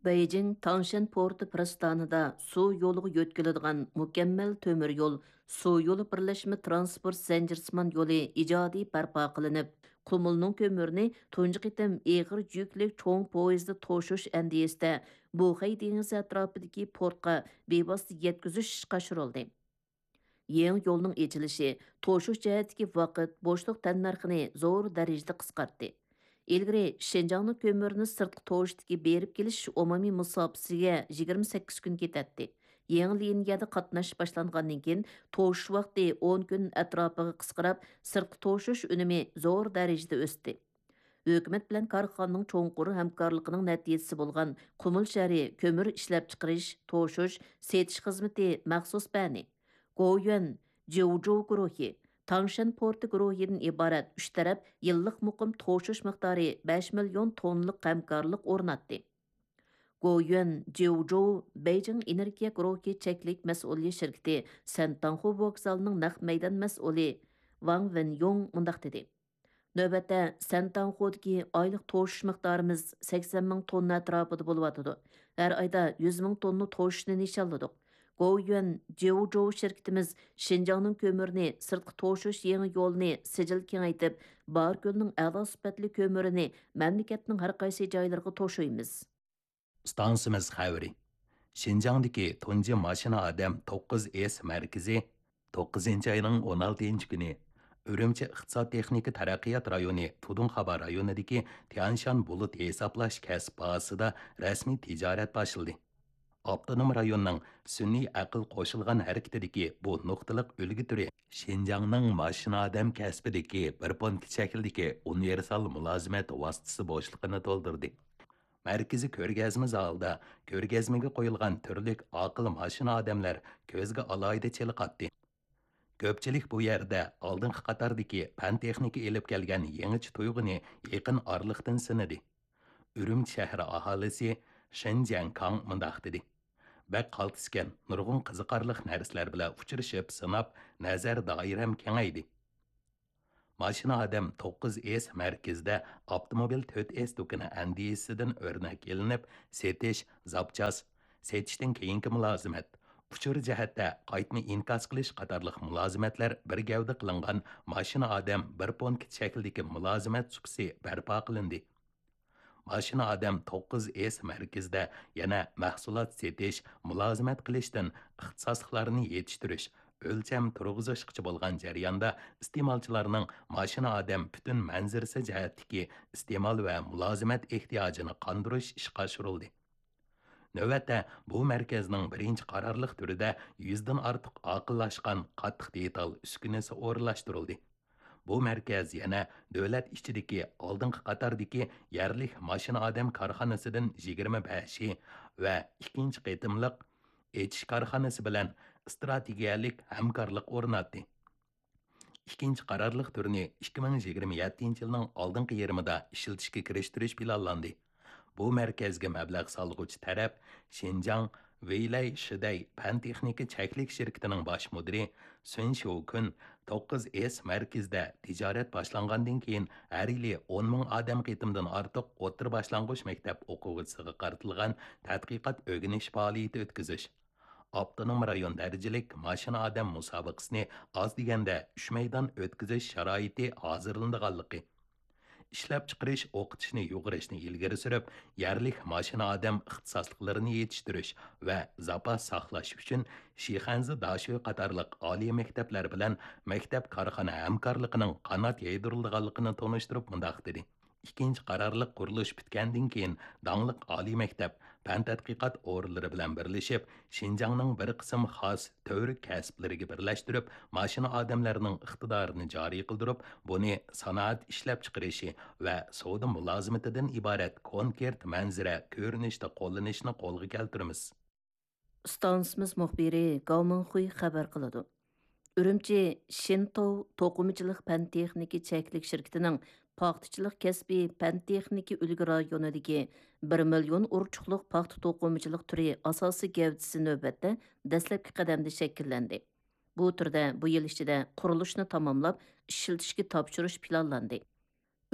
بېيجىڭ تاڭشەن پورتى پىرىستانىدا سۇ يولىغا يۆتكىلىدىغان مۇكەممەل تۆمۈر يول، سۇ يولى بىرلەشمە تىرانسپورت زەنجىرسىمان يولى ئىجادىي بەرپا قىلىنىپ، قۇمۇلنىڭ كۆمۈرىنى تۇنجى قېتىم ئېغىر يۈكلۈك چوڭ پويىزدا توشۇش ئەندىزىسىدە بۇخەي دېڭىزى ئەتراپىدىكى پورتقا بىۋاسىتە يەتكۈزۈش ئىشقا ئاشۇرۇلدى. يېڭى يولنىڭ ئېچىلىشى توشۇش جەھەتتىكى ۋاقىت، بوشلۇق تەننەرخىنى زور دەرىجىدە قىسقارتتى. ئىلگىرى شىنجاڭنىڭ كۆمۈرىنى سىرتقا توشۇشتىكى بېرىپ كېلىش ئومۇمىي مۇساپىسىگە يىگىرمە سەككىز كۈن كېتەتتى. يېڭى لىنىيەدە قاتناش باشلانغاندىن كېيىن، توشۇش ۋاقتى ئون كۈن ئەتراپىغا قىسقىراپ، سىرتقا توشۇش ئۈنۈمى زور دەرىجىدە ئۆستى. ھۆكۈمەت بىلەن كارخانىنىڭ چوڭقۇر ھەمكارلىقىنىڭ نەتىجىسى بولغان قۇمۇل شەھىرى كۆمۈر ئىشلەپچىقىرىش، توشۇش، سېتىش خىزمىتى مەخسۇس بەنى، گويۈەن جيۇجۇ گۇرۇھى، تاڭشەن پورتى گۇرۇھىدىن ئىبارەت ئۈچ تەرەپ يىللىق مۇقىم توشۇش مىقدارى بەش مىليون توننىلىق ھەمكارلىق ئورناتتى. گويۈەن جيۇجۇ بېيجىڭ ئېنېرگىيە گۇرۇھى چەكلىك مەسئۇلىيەت شىركىتى سەنتاڭخۇ ۋوگزالىنىڭ نەق مەيدان مەسئۇلى ۋاڭ ۋېنيۇڭ مۇنداق دېدى: نۆۋەتتە سەنتاڭخۇدىكى ئايلىق توشۇش مىقدارىمىز سەكسەن مىڭ توننا ئەتراپىدا بولۇۋاتىدۇ. ھەر ئايدا يۈز مىڭ توننا توشۇشنى نىشانلىدۇق. گوۋۇيۈەن جيۇجۇ شىركىتىمىز شىنجاڭنىڭ كۆمۈرىنى سىرتقا توشۇش يېڭى يولىنى سىجىل كېڭەيتىپ، باركۆلنىڭ ئەلا سۈپەتلىك كۆمۈرىنى مەملىكەتنىڭ ھەر قايسى جايلىرىغا توشۇيمىز. ئىستانسىمىز خەۋىرى. شىنجاڭدىكى تۇنجى ماشىنا ئادەم توققۇز ئېس مەركىزى توققۇزىنچى ئاينىڭ ئون ئالتىنچى كۈنى ئۈرۈمچى ئىقتىساد تېخنىكا تەرەققىيات رايونى تۇدۇڭخابا رايونىدىكى تيەنشان بۇلۇت ھېسابلاش كەسىپ بازىسىدا رەسمىي تىجارەت باشلىدى. ئاپتونوم رايوننىڭ سۈنئىي ئەقىل قوشۇلغان ھەرىكىتىدىكى بۇ نۇقتىلىق ئۈلگە تۈرى شىنجاڭنىڭ ماشىنا ئادەم كەسپىدىكى بىر پونكىت شەكلىدىكى ئۇنىۋېرسال مۇلازىمەت ۋاسىتىسى بوشلۇقىنى تولدۇردى. مەركىزىي كۆرگەزمە زالىدا كۆرگەزمىگە قويۇلغان تۈرلۈك ئاقىل ماشىنا ئادەملەر كۆزگە ئالاھىدە چېلىقاتتى. كۆپچىلىك بۇ يەردە ئالدىنقى قاتاردىكى پەن-تېخنىكا ئېلىپ كەلگەن يېڭىچە تۇيغۇنى يېقىن ئارىلىقتىن سىنىدى. ئۈرۈمچى شەھىرى ئاھالىسى شېن جيەنكاڭ مۇنداق دېدى: بەك قالتىسكەن، نۇرغۇن قىزىقارلىق نەرسىلەر بىلەن ئۇچرىشىپ، سىناپ، نەزەر دائىرەم كېڭەيدى. ماشىنا ئادەم توققۇز ئېس مەركىزىدە ئاپتوموبىل تۆت ئېس دۇكىنى ئەندىزىسىدىن ئۆرنەك ئېلىنىپ، سېتىش، زاپچاس، سېتىشتىن كېيىنكى مۇلازىمەت، ئۇچۇر جەھەتتە قايتما ئىنكاس قىلىش قاتارلىق مۇلازىمەتلەر بىر گەۋدە قىلىنغان ماشىنا ئادەم بىر پونكىت شەكلىدىكى مۇلازىمەت سۇپىسى بەرپا قىلىندى. ماشىنا ئادەم توققۇز ئېس مەركىزىدە يەنە مەھسۇلات سېتىش، مۇلازىمەت قىلىشتىن ئىختىساسلىقلارنى يېتىشتۈرۈش، ئۆلچەم تۇرغۇزۇشقىچە بولغان جەرياندا ئىستېمالچىلارنىڭ ماشىنا ئادەم پۈتۈن مەنزىرىسى جەھەتتىكى ئىستېمال ۋە مۇلازىمەت ئېھتىياجىنى قاندۇرۇش ئىشقا ئاشۇرۇلدى. نۆۋەتتە بۇ مەركەزنىڭ بىرىنچى قارارلىق تۈرىدە يۈزدىن ئارتۇق ئاقىللاشقان قاتتىق دېتال ئۈسكۈنىسى ئورۇنلاشتۇرۇلدى. بۇ مەركەز يەنە دۆلەت ئىچىدىكى ئالدىنقى قاتاردىكى يەرلىك ماشىنا ئادەم كارخانىسىدىن يىگىرمە بەشى ۋە ئىككىنچى قېتىملىق ئېچىش كارخانىسى بىلەن ئىستراتېگىيەلىك ھەمكارلىق ئورناتتى. ئىككىنچى قارارلىق تۈرىنى ئىككى مىڭ يىگىرمە يەتتىنچى يىلنىڭ ئالدىنقى يېرىمىدا ئىشلىتىشكە كىرىشتۈرۈش پىلانلاندى. بۇ مەركەزگە مەبلەغ سالغۇچى تەرەپ شىنجاڭ ۋېيلەي شىدەي پەن تېخنىكا چەكلىك شىركىتىنىڭ باش مۇدىرى سۈن شيۇكۈن توققۇز ئېس مەركىزىدە تىجارەت باشلانغاندىن كېيىن ھەر يىلى ئون مىڭ ئادەم قېتىمدىن ئارتۇق ئوتتۇرا باشلانغۇچ مەكتەپ ئوقۇغۇچىسىغا قارىتىلغان تەتقىقات ئۆگىنىش پائالىيىتى ئۆتكۈزۈش، ئاپتونوم رايون دەرىجىلىك ماشىنا ئادەم مۇسابىقىسىنى ئاز دېگەندە ئۈچ مەيدان ئۆتكۈزۈش شارائىتى ھازىرلىنىدىغانلىقى، ئىشلەپچىقىرىش، ئوقۇتۇشنى يۇغۇرۇشنى ئىلگىرى سۈرۈپ، يەرلىك ماشىنا ئادەم ئىختىساسلىقلىرىنى يېتىشتۈرۈش ۋە زاپاس ساقلاش ئۈچۈن شىخەنزە داشۆ قاتارلىق ئالىي مەكتەپلەر بىلەن مەكتەپ كارخانا ھەمكارلىقىنىڭ قانات يايدۇرۇلىدىغانلىقىنى تونۇشتۇرۇپ مۇنداق دېدى: ئىككىنچى قارارلىق قۇرۇلۇش پۈتكەندىن كېيىن، داڭلىق ئالىي مەكتەپ، پەن تەتقىقات ئورۇنلىرى بىلەن بىرلىشىپ، شىنجاڭنىڭ بىر قىسىم خاس تۈۋرۈك كەسىپلىرىگە بىرلەشتۈرۈپ، ماشىنا ئادەملەرنىڭ ئىقتىدارىنى جارى قىلدۇرۇپ، بۇنى سانائەت ئىشلەپچىقىرىشى ۋە سودا مۇلازىمىتىدىن ئىبارەت كونكرېت مەنزىرە كۆرۈنۈشتە قوللىنىشنى قولغا كەلتۈرىمىز. ئىستانسىمىز مۇخبىرى گاۋ مىڭخۇي خەۋەر قىلىدۇ. ئۈرۈمچى شىنتوۋ توقۇمىچىلىق پەن تېخنىكا چەكلىك شىركىتىنىڭ پاختىچىلىق كەسپىي پەن تېخنىكا ئۈلگە رايونىدىكى بىر مىليون ئۇرچۇقلۇق پاختا توقۇمىچىلىق تۈرى ئاساسىي گەۋدىسى نۆۋەتتە دەسلەپكى قەدەمدە شەكىللەندى. بۇ تۈردە بۇ يىل ئىچىدە قۇرۇلۇشنى تاماملاپ، ئىشلىتىشكە تاپشۇرۇش پىلانلاندى.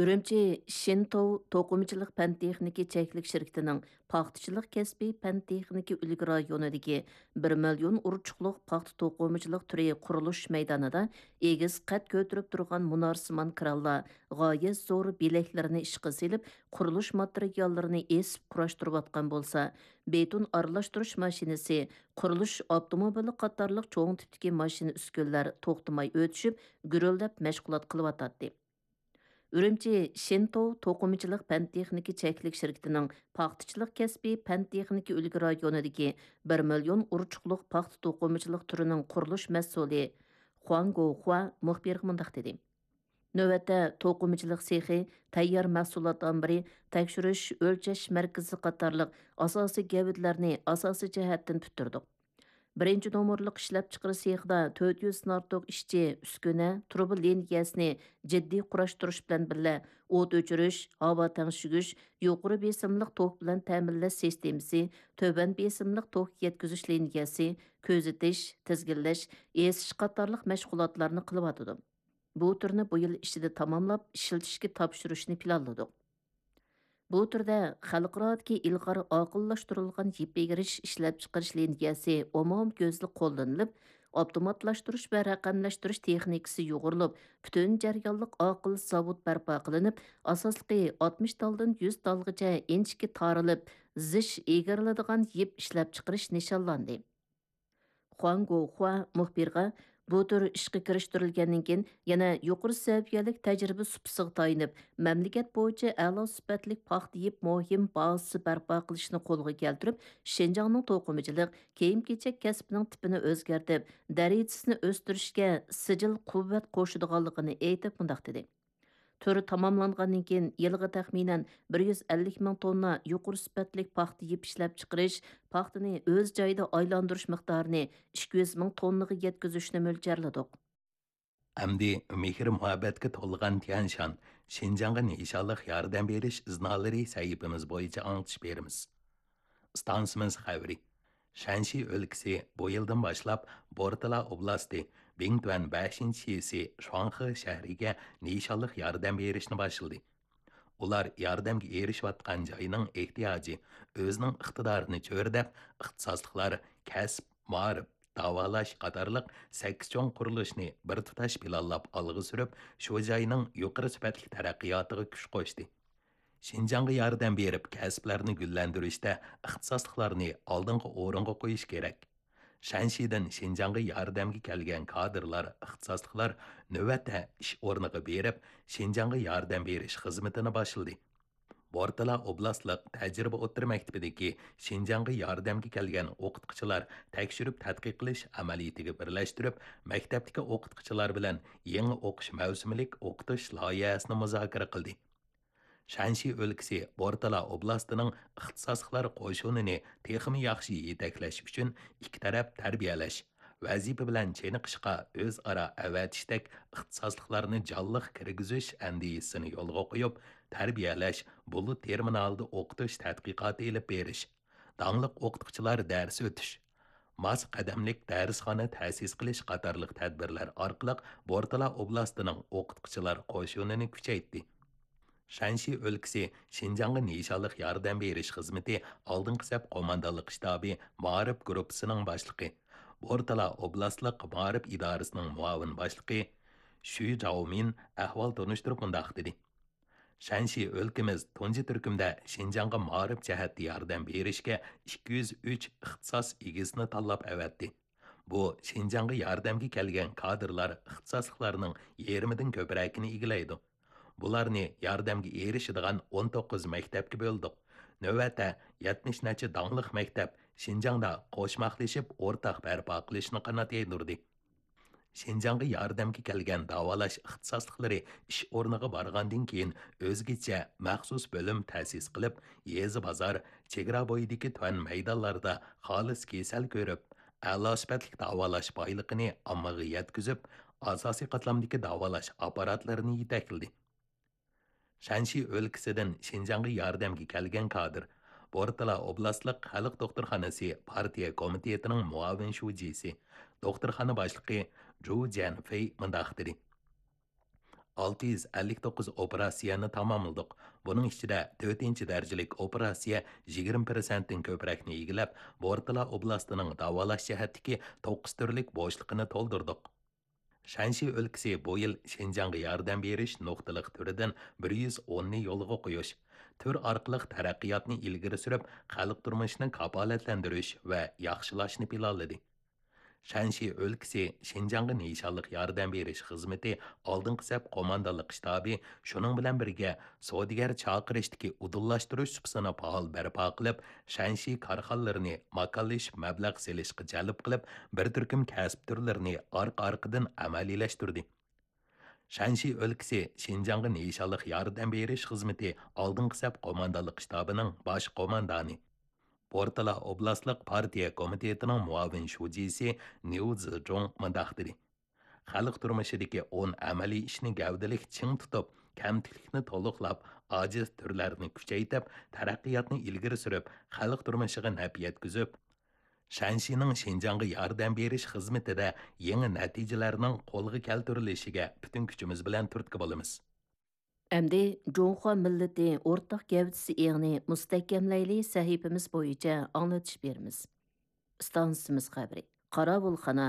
ئۈرۈمچى شىنتوۋ توقۇمىچىلىق پەن تېخنىكا چەكلىك شىركىتىنىڭ پاختىچىلىق كەسپىي پەن تېخنىكا ئۈلگە رايونىدىكى بىر مىليون ئۇرچۇقلۇق پاختا توقۇمىچىلىق تۈرى قۇرۇلۇش مەيدانىدا ئېگىز قەد كۆتۈرۈپ تۇرغان مۇنارسىمان كرانلار غايەت زور بېلەكلىرىنى ئىشقا سېلىپ، قۇرۇلۇش ماتېرىياللىرىنى ئېسىپ قۇراشتۇرۇۋاتقان بولسا، بېتون ئارىلاشتۇرۇش ماشىنىسى، قۇرۇلۇش ئاپتوموبىلى قاتارلىق چوڭ تىپتىكى ماشىنا ئۈسكۈنىلەر توختىماي ئۆتۈشۈپ، گۈرۈلدەپ مەشغۇلات قىلىۋاتاتتى. ئۈرۈمچى شىنتوۋ توقۇمىچىلىق پەن تېخنىكا چەكلىك شىركىتىنىڭ پاختىچىلىق كەسپىي پەن تېخنىكا ئۈلگە رايونىدىكى بىر مىليون ئۇرچۇقلۇق پاختا توقۇمىچىلىق تۈرىنىڭ قۇرۇلۇش مەسئۇلى خۇاڭ گوخۇا مۇخبىرغا مۇنداق دېدى: نۆۋەتتە توقۇمىچىلىق سېخى، تەييار مەھسۇلات ئامبىرى، تەكشۈرۈش، ئۆلچەش مەركىزى قاتارلىق ئاساسىي گەۋدىلەرنى ئاساسىي جەھەتتىن پۈتتۈردۇق. بىرىنچى نومۇرلۇق ئىشلەپچىقىرىش سېخىدا تۆت يۈزدىن ئارتۇق ئىشچى، ئۈسكۈنە، تۇرۇبا لىنىيەسىنى جىددىي قۇراشتۇرۇش بىلەن بىللە، ئوت ئۆچۈرۈش، ھاۋا تەڭشىگۈچ، يۇقىرى بېسىملىق توك بىلەن تەمىنلەش سىستېمىسى، تۆۋەن بېسىملىق توك يەتكۈزۈش لىنىيەسى، كۆزىتىش، تىزگىنلەش، ئېسىش قاتارلىق مەشغۇلاتلارنى قىلىۋاتىدۇ. بۇ تۈرنى بۇ يىل ئىچىدە تاماملاپ، ئىشلىتىشكە تاپشۇرۇشنى پىلانلىدۇق. بۇ تۈردە خەلقئارادىكى ئىلغار ئاقىللاشتۇرۇلغان يىپ ئېگىرىش ئىشلەپچىقىرىش لىنىيەسى ئومۇميۈزلۈك قوللىنىلىپ، ئاپتوماتلاشتۇرۇش ۋە رەقەملەشتۈرۈش تېخنىكىسى يۇغۇرۇلۇپ، پۈتۈن جەريانلىق ئاقىل زاۋۇت بەرپا قىلىنىپ، ئاساسلىقى ئاتمىش تالدىن يۈز تالغىچە ئىنچىكە تارىلىپ، زىچ ئېگىرىلىدىغان يىپ ئىشلەپچىقىرىش نىشانلاندى. خۇاڭ گوخۇا مۇخبىرغا، بۇ تۈر ئىشقا كىرىشتۈرۈلگەندىن كېيىن، يەنە يۇقىرى سەۋىيەلىك تەجرىبە سۇپىسىغا تايىنىپ، مەملىكەت بويىچە ئەلا سۈپەتلىك پاختا يىپ مۇھىم بازىسى بەرپا قىلىشنى قولغا كەلتۈرۈپ، شىنجاڭنىڭ توقۇمىچىلىق، كىيىم-كېچەك كەسپىنىڭ تىپىنى ئۆزگەرتىپ، دەرىجىسىنى ئۆستۈرۈشكە سىجىل قۇۋۋەت قوشىدىغانلىقىنى ئېيتىپ، مۇنداق دېدى. تۈر تاماملانغاندىن كېيىن، يىلىغا تەخمىنەن بىر يۈز ئەللىك مىڭ توننا يۇقىرى سۈپەتلىك پاختا يىپ ئىشلەپچىقىرىش، پاختىنى ئۆز جايىدا ئايلاندۇرۇش مىقدارىنى ئىككى يۈز مىڭ توننىغا يەتكۈزۈشنى مۆلچەرلىدۇق. ئەمدى مېھىر-مۇھەببەتكە تولغان تيەنشان، شىنجاڭغا نىشانلىق ياردەم بېرىش ئىزنالىرى سەھىپىمىز بويىچە ئاڭلىتىش بېرىمىز. ئىستانسىمىز خەۋىرى. شەنشى ئۆلكىسى بۇ يىلدىن باشلاپ بورتالا ئوبلاستى بىڭتۈەن بەشىنچى شىسى شۇاڭخې شەھىرىگە نىشانلىق ياردەم بېرىشنى باشلىدى. ئۇلار ياردەمگە ئېرىشىۋاتقان جاينىڭ ئېھتىياجى، ئۆزىنىڭ ئىقتىدارىنى چۆرىدەپ، ئىختىساسلىقلار، كەسىپ، مائارىپ، داۋالاش قاتارلىق سەككىز چوڭ قۇرۇلۇشنى بىر تۇتاش پىلانلاپ ئالغا سۈرۈپ، شۇ جاينىڭ يۇقىرى سۈپەتلىك تەرەققىياتىغا كۈچ قوشتى. شىنجاڭغا ياردەم بېرىپ، كەسىپلەرنى گۈللەندۈرۈشتە ئىختىساسلىقلارنى ئالدىنقى ئورۇنغا قويۇش كېرەك. شەنشىدىن شىنجاڭغا ياردەمگە كەلگەن كادىرلار، ئىختىساسلىقلار نۆۋەتتە ئىش ئورنىغا بېرىپ، شىنجاڭغا ياردەم بېرىش خىزمىتىنى باشلىدى. بورتالا ئوبلاستلىق تەجرىبە ئوتتۇرا مەكتىپىدىكى شىنجاڭغا ياردەمگە كەلگەن ئوقۇتقۇچىلار تەكشۈرۈپ تەتقىق قىلىش ئەمەلىيىتىگە بىرلەشتۈرۈپ، مەكتەپتىكى ئوقۇتقۇچىلار بىلەن يېڭى ئوقۇش مەۋسۇمىلىك ئوقۇتۇش لايىھەسىنى مۇزاكىرە قىلدى. شەنشى ئۆلكىسى بورتالا ئوبلاستىنىڭ ئىختىساسلىقلار قوشۇنىنى تېخىمۇ ياخشى يېتەكلەش ئۈچۈن ئىككى تەرەپ تەربىيەلەش، ۋەزىپە بىلەن چېنىقىشقا ئۆزئارا ئەۋەتىشتەك ئىختىساسلىقلارنى جانلىق كىرگۈزۈش ئەندىزىسىنى يولغا قويۇپ، تەربىيەلەش، بۇلۇت تېرمىنالىدا ئوقۇتۇش تەتقىقاتى ئېلىپ بېرىش، داڭلىق ئوقۇتقۇچىلار دەرس ئۆتۈش، ماس قەدەملىك دەرسخانا تەسىس قىلىش قاتارلىق تەدبىرلەر ئارقىلىق بورتالا ئوبلاستىنىڭ ئوقۇتقۇچىلار قوشۇنىنى كۈچەيتتى. شەنشى ئۆلكىسى شىنجاڭغا نىشانلىق ياردەم بېرىش خىزمىتى ئالدىنقى سەپ قوماندانلىق شتابى مائارىپ گۇرۇپپىسىنىڭ باشلىقى، بورتالا ئوبلاستلىق مائارىپ ئىدارىسىنىڭ مۇئاۋىن باشلىقى شۈ جاۋمىن ئەھۋال تونۇشتۇرۇپ مۇنداق دېدى: شەنشى ئۆلكىمىز تۇنجى تۈركۈمدە شىنجاڭغا مائارىپ جەھەتتە ياردەم بېرىشكە ئىككى يۈز ئۈچ ئىختىساس ئىگىسىنى تاللاپ ئەۋەتتى. بۇ شىنجاڭغا ياردەمگە كەلگەن كادىرلار ئىختىساسلىقلارنىڭ يېرىمىدىن كۆپرەكىنى ئىگىلەيدۇ. بۇلارنى ياردەمگە ئېرىشىدىغان ئون توققۇز مەكتەپكە بۆلدۇق. نۆۋەتتە يەتمىش نەچچە داڭلىق مەكتەپ شىنجاڭدا قوشماقلىشىپ ئورتاق بەرپا قىلىشنى قانات يايدۇردى. شىنجاڭغا ياردەمگە كەلگەن داۋالاش ئىختىساسلىقلىرى ئىش ئورنىغا بارغاندىن كېيىن ئۆزگىچە مەخسۇس بۆلۈم تەسىس قىلىپ، يېزا بازار، چېگرا بويىدىكى تۆۋەن مەيدانلاردا خالىس كېسەل كۆرۈپ، ئەلا سۈپەتلىك داۋالاش بايلىقىنى ئاممىغا يەتكۈزۈپ، ئاساسىي قاتلامدىكى داۋالاش ئاپپاراتلىرىنى يېتەكلىدى. شەنشى ئۆلكىسىدىن شىنجاڭغا ياردەمگە كەلگەن كادىر، بورتالا ئوبلاستلىق خەلق دوختۇرخانىسى پارتىيە كومىتېتىنىڭ مۇئاۋىن شۇجىسى، دوختۇرخانا باشلىقى جۇ جيەنفېي مۇنداق دېدى: ئالتە يۈز ئەللىك توققۇز ئوپېراتسىيەنى تاماملىدۇق. بۇنىڭ ئىچىدە تۆتىنچى دەرىجىلىك ئوپېراتسىيە يىگىرمە پىرسەنتتىن كۆپرەكنى ئىگىلەپ، بورتالا ئوبلاستىنىڭ داۋالاش جەھەتتىكى توققۇز تۈرلۈك بوشلۇقىنى تولدۇردۇق. شەنشى ئۆلكىسى بۇ يىل شىنجاڭغا ياردەم بېرىش نۇقتىلىق تۈرىدىن بىر يۈز ئوننى يولغا قويۇش، تۈر ئارقىلىق تەرەققىياتنى ئىلگىرى سۈرۈپ، خەلق تۇرمۇشىنى كاپالەتلەندۈرۈش ۋە ياخشىلاشنى پىلانلىدى. شەنشى ئۆلكىسى شىنجاڭغا نىشانلىق ياردەم بېرىش خىزمىتى ئالدىنقى سەپ قوماندانلىق شتابى شۇنىڭ بىلەن بىرگە سودىگەر چاقىرىشتىكى ئۇدۇللاشتۇرۇش سۇپىسىنى پائال بەرپا قىلىپ، شەنشى كارخانىلىرىنى ماكانلىشىپ مەبلەغ سېلىشقا جەلپ قىلىپ، بىر تۈركۈم كەسىپ تۈرلىرىنى ئارقا-ئارقىدىن ئەمەلىيلەشتۈردى. شەنشى ئۆلكىسى شىنجاڭغا نىشانلىق ياردەم بېرىش خىزمىتى ئالدىنقى سەپ قوماندانلىق شتابىنىڭ باش قوماندانى، بورتالا ئوبلاستلىق پارتىيە كومىتېتىنىڭ مۇئاۋىن شۇجىسى نيۇ زىجۇڭ مۇنداق دېدى: خەلق تۇرمۇشىدىكى ئون ئەمەلىي ئىشنى گەۋدىلىك چىڭ تۇتۇپ، كەمتۈكلۈكنى تولۇقلاپ، ئاجىز تۈرلەرنى كۈچەيتىپ، تەرەققىياتنى ئىلگىرى سۈرۈپ، خەلق تۇرمۇشىغا نەپ يەتكۈزۈپ، شەنشىنىڭ شىنجاڭغا ياردەم بېرىش خىزمىتىدە يېڭى نەتىجىلەرنىڭ قولغا كەلتۈرۈلۈشىگە پۈتۈن كۈچىمىز بىلەن تۈرتكە بولىمىز. ئەمدى جۇڭخۇا مىللىتى ئورتاق گەۋدىسى ئېڭىنى مۇستەھكەملەيلى سەھىپىمىز بويىچە ئاڭلىتىش بېرىمىز. ئىستانسىمىز خەۋىرى. قاراۋۇلخانا،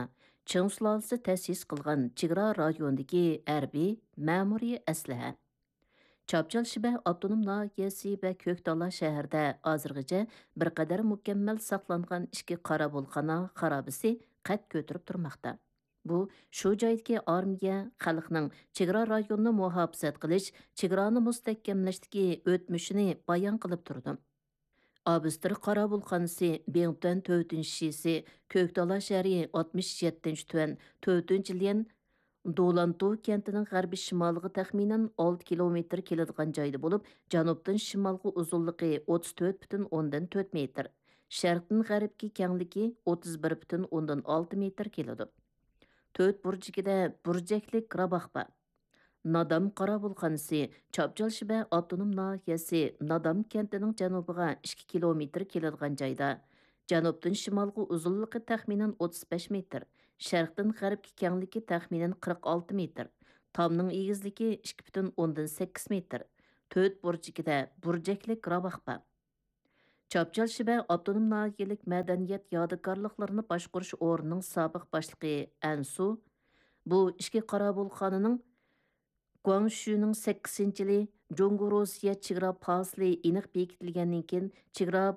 چىڭ سۇلالىسى تەسىس قىلغان چېگرا رايونىدىكى ھەربىي مەمۇرىي ئەسلىھە. چاپچال شىبە ئاپتونوم ناھىيەسى ۋە كۆكتالا شەھىرىدە ھازىرغىچە بىر قەدەر مۇكەممەل ساقلانغان ئىككى قاراۋۇلخانا خارابىسى قەد كۆتۈرۈپ تۇرماقتا. بۇ شۇ جايدىكى ئارمىيە خەلقنىڭ چېگرا رايونىنى مۇھاپىزەت قىلىش، چېگرانى مۇستەھكەملەشتىكى ئۆتمۈشىنى بايان قىلىپ تۇرىدۇ. ئابستر قاراۋۇلخانىسى بىڭتۈەن تۆتىنچى شىسى، كۆكتالا شەھىرى ئاتمىش يەتتىنچى تۈەن تۆتىنچى ليەن دولانتۇ كەنتىنىڭ غەربىي شىمالىغا تەخمىنەن ئالتە كىلومېتىر كېلىدىغان جايدا بولۇپ، جەنۇبتىن شىمالغا ئۇزۇنلۇقى ئوتتۇز تۆت پۈتۈن ئوندىن تۆت مېتىر، شەرقتىن غەربكە كەڭلىكى ئوتتۇز بىر پۈتۈن ئوندىن ئالتە مېتىر كېلىدۇ. تۆت بۇرجىكىدە بۇرجەكلىك راۋاق بار. نادام قاراۋۇلخانىسى چاپچال شىبە ئاپتونوم ناھىيەسى نادام كەنتىنىڭ جەنۇبىغا ئىككى كىلومېتىر كېلىدىغان جايدا، جەنۇبتىن شىمالغا ئۇزۇنلۇقى تەخمىنەن ئوتتۇز بەش مېتىر، شەرقتىن غەربكە كەڭلىكى تەخمىنەن قىرىق ئالتە مېتىر، تامنىڭ ئېگىزلىكى ئىككى پۈتۈن ئوندىن سەككىز مېتىر، تۆت بۇرجىكىدە بۇرجەكلىك راۋاق بار. چاپچال شىبە ئاپتونوم ناھىيەلىك مەدەنىيەت يادىكارلىقلىرىنى باشقۇرۇش ئورنىنىڭ سابىق باشلىقى ئەنسۇ بۇ ئىچكى قاراۋۇلخانىنىڭ گۇاڭشۈنىڭ سەككىزىنچى يىلى جۇڭگو روسىيە چېگرا پاسىلى ئېنىق بېكىتىلگەندىن كېيىن، چېگرا